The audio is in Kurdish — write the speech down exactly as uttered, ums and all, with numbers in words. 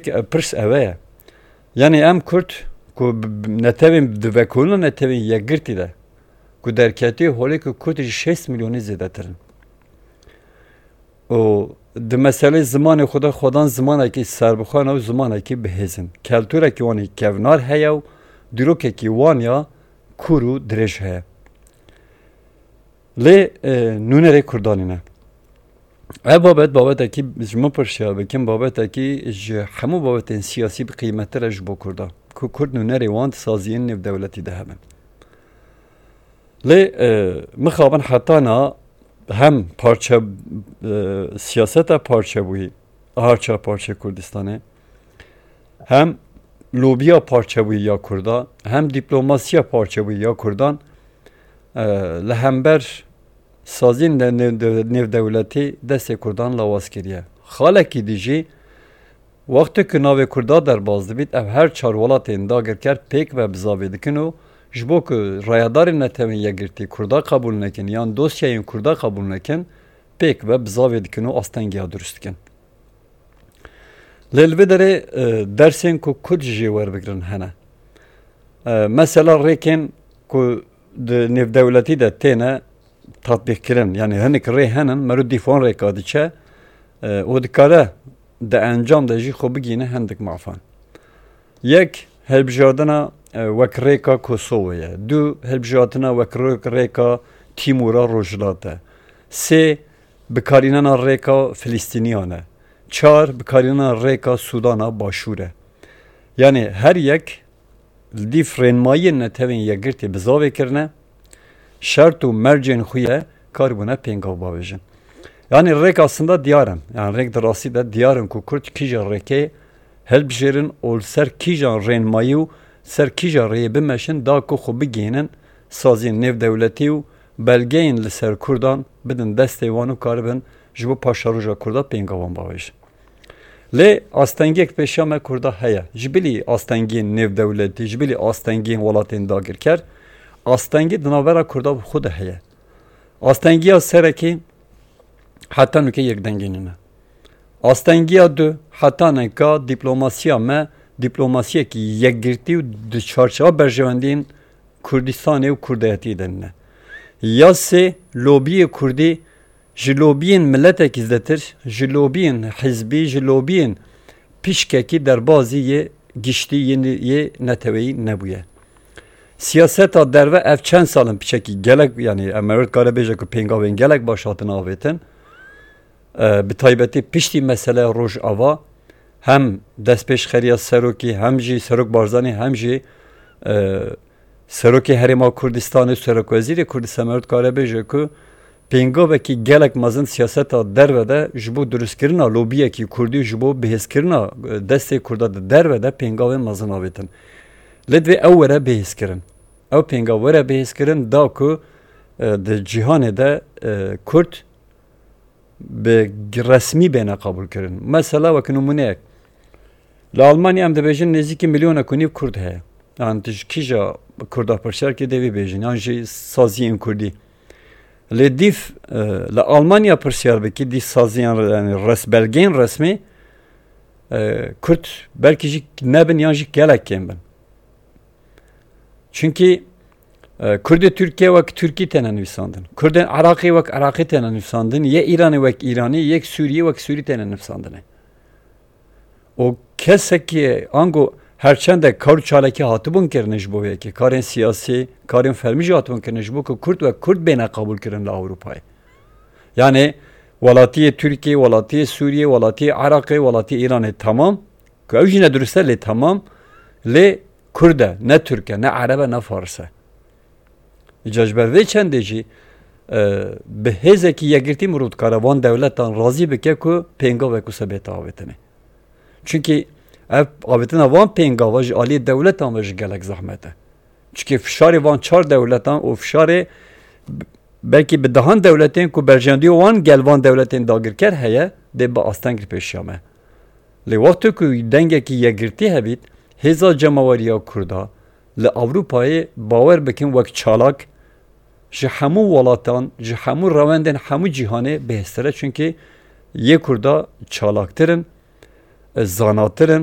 Pirs ev e. Yanî em Kurd ku bi, bi netewên, di vekolina netewên yekgirtî de ku derketî holê ku Kurd ji şêst milyonî zêdetir in. Û di meselê zimanê xwe de xwedan zimanekî serbixwe ne û zimanekî bihêz in. Keltûrekî wan ê kevnar heye û dîrokekî wan ya kûr û dirêj heye. Lê, e, nûnerê Kurdanî ne. Ev babet, babetekî ji min pirsiya bikin, babetekî ji hemû babetên siyasî bi qîmettir e ji bo Kurda. Ku Kurd nûnerê wan di saziyên nêvdewletî de hebin. Lê, e, mixabin heta na hem parçe, e, siyaseta parçebûyî, harça parçe Kurdistanê, hem lobiya parçebûyî ya Kurda, hem diplomasiya parçebûyî ya Kurdan, e, li hember saziyên de-, nêv-, de-, nêvdewletî destê Kurdan lawaz kiriye. Xalekî dî jî, wextê ku navê Kurda derbas dibît, ev her çar welatên dagirker pêk ve bizavê dikin û ji bo ku rayedarên Netewên Yekgirtî Kurda qebûl nekin yan dosyayên Kurda qebûl nekin, pêk ve bizavê dikin û astengiya dirust dikin. Lê li vê derê, e, dersên ku Kurd ji jê werbigirin hene. E, mesela rêkên ku di nêvdewletî de têne tatbîqkirin, yanî hinek rê henin, mero dîf wan rêka diçe, e, û dikare di encam de jî xwe bigihîne hindik mafan. Yek, hilbijardina, e, wek rêka Kosovê ye. Du, hilbijartina wek rê-, rêka Tîmûra Rojhilat e. Sê, bikarînana rêka Filistîniyan e. Çar, bikarînana rêka Sûdana Başûr e. Yanî her yek li dîf rênmayiyên Netewên Yekgirtî bizavê kirine, şert û mercên xwe ye karibûne pêngav bavêjin. Yanî rêk aslında diyar in. Yanî rêk di rastî de diyar in ku Kurd kîja rêkê hilbijêrin û li ser kîjan rênmayî û ser kîja rêyê bimeşin da ku xwe bigihînin saziyên nêvdewletî û belgeyên li ser Kurdan bidin destê wan û karibin ji bo paşeroja Kurda pêngavan bavêjin. Lê astengiyek pêşiya me Kurda heye. Ji bilî astengiyên nêvdewletî, ji bilî astengiyên welatên dagirker, astengî di navbera Kurda bi xwe de heye. Astengiya serekî heta nûke yekdengî nîne. Astengiya du, heta neka diplomasiya me, diplomasiyekî yekgirtî û di çarçewa berjewendiyên Kurdistanê û Kurdayetiyê de nîne. Ya sê, lobiyê Kurdî ji lobiyên miletekî zêdetir, ji lobiyên hizbî, ji lobiyên pişkekî derbazî yê giştî yê, yê neteweyî nebûye. Siyaseta derve ev çend sal in piçekî gelek, yanî em ê dikare bêje ku pêngavên gelek baş hatin avêtin. E, bi taybetî piştî meseleya Rojava hem destpêşxeriya serokî, hem jî Serok Barzanî, hem jî, e, Serokê Herêma Kurdistanê û Serokwezîrê Kurdistan, me dikare bêje ku pêngavekî gelek mezin siyaseta derve de ji bo dirustkirina lobiyekî Kurdî û ji bo bihêzkirina, e, destê Kurda di derve de pêngavên mezin avêtin. Lê divê ew were bihêzkirin. Ew pêngav were bihêzkirin da ku, e, di cîhanê de, e, Kurd bi resmî bêne qebûlkirin. Mesela wek nimûneyek, li Almanya em dibêjin nêzîkî milyonek û nîv Kurd heye. Yan tu ji kîja Kurda pirsiyar kî dê vî bêjin, yan jî saziyên Kurdî. Lê dîf, e, li Almanya pirsiyar bikî, dî saziyên re-, yanî res-, belgeyên resmî, e, Kurd belkî jî nebin yan jî gelek kêm bin. Çunkî, e, Kurdê Tirkiye wek Tirkî têne nivîsandin. Kurdên Iraqê wek Iraqî têne nivîsandin. Yê Îranê wek Îranî, yek Sûriyê wek Sûrî têne nivîsandinê. Û kesekî ango her çende kar û çalakî hatibûn kirinê ji bo vê yekê, karên siyasî, karên fermî jî hatibûn kirinê ji bo ku Kurd wek Kurd bêne qebûl kirin li Ewropayê. Yanî welatiyê Tirkiyê, welatiyê Sûriyê, welatiyê Iraqê, welatiyê Îranê temam, ku ew jî ne dirust e, lê temam, lê Kurd e, ne Tirk e, ne Ereb e, ne Faris e. Îca ji ber vê çendê jî, e, bi hêzekî yekgirtî mirov dikare van dewletan razî bike ku pêngavek wisa bête avêtinê. Çunkî ev avêtina van pêngava ji aliyê dewletan ve jî gelek zehmet e. Çunkî fişarê van çar dewletan û fişarê b-, belkî bi dehan dewletên ku berjewendiya wan gel van dewletên dagirker heye, dê bi asteng li pêşiya me. Lê wextê ku dengekî yekgirtî hebît, hêza cemaweriya Kurda li Ewropayê bawer bikin wek çalak ji hemû welatan, ji hemû rewendên hemû cîhanê bihêztir e. Çunkî yê Kurda çalaktir in. zanatir in,